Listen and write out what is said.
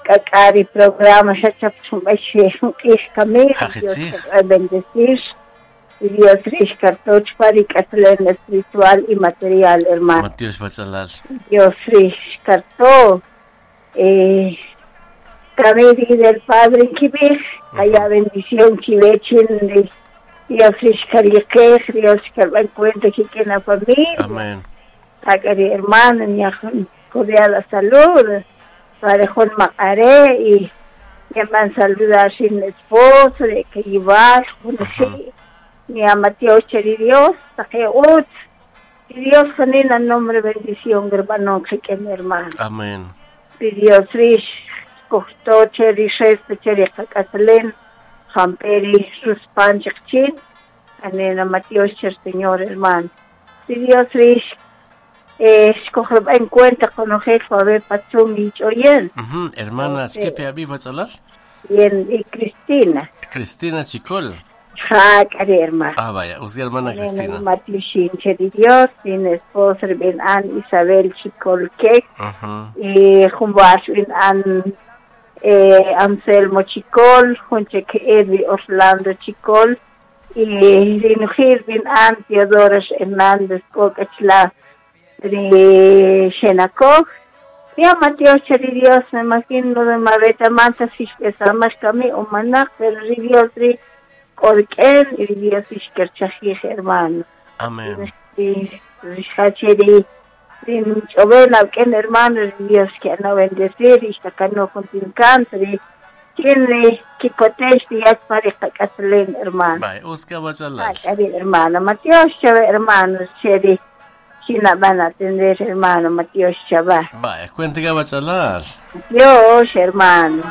K'ak'ari programa xachap chumbashi q'ij kamil Dios bendecir y Dios rixkartoch pa ri k'aslen espiritual y material, hermano. Matios Bachalal. Dios rixkarto kamil del Padre kibij haya bendición kibechin Dios rixkariqej Dios xkarban cuenta que la familia. Amén. Akari hermano cordial salud parejón maqare y llaman saludar sin esposo de que llevar ni a Mateo Cheri Dios ut y Dios janina nombre bendición hermano que mi hermano. Amén. Y Dios rish costó cheri reste cheri kakaslen jamperi ruspan chikchin anena Mateo Cher Señor hermano. Y Dios rish escoger en cuenta con jefa ver pachón y choyen. Hermana, ¿qué pe abiba chalal? Bien, y Cristina. Cristina Chicol. Ja, cari hermana. Ah, vaya, usted hermana Cristina. Matiushin de Dios, sin esposa ben an Isabel Chicol que y jumbash ben an Anselmo Chicol, junche que Edwi Orlando Chicol y Rinujir ben an Teodoro Hernández Cocachla de Xenacog. Ya Mateo Cheri Dios, me imagino de Mabeta Manta, si más kami o manak, pero Dios ri Orken y Dios ishkerchajij, hermano. Amén. Y Rishacheri, Rin Alken, hermano, Dios que no bendecir, y no con cáncer, quien kikotesh y pareja caslen, hermano. Bye, Oscar Bachalal. Hermano, Mateo Chave, hermano, Cheri. China van a atender, hermano Mateo Chavá. Vaya, cuente que va a charlar. Dios, hermano.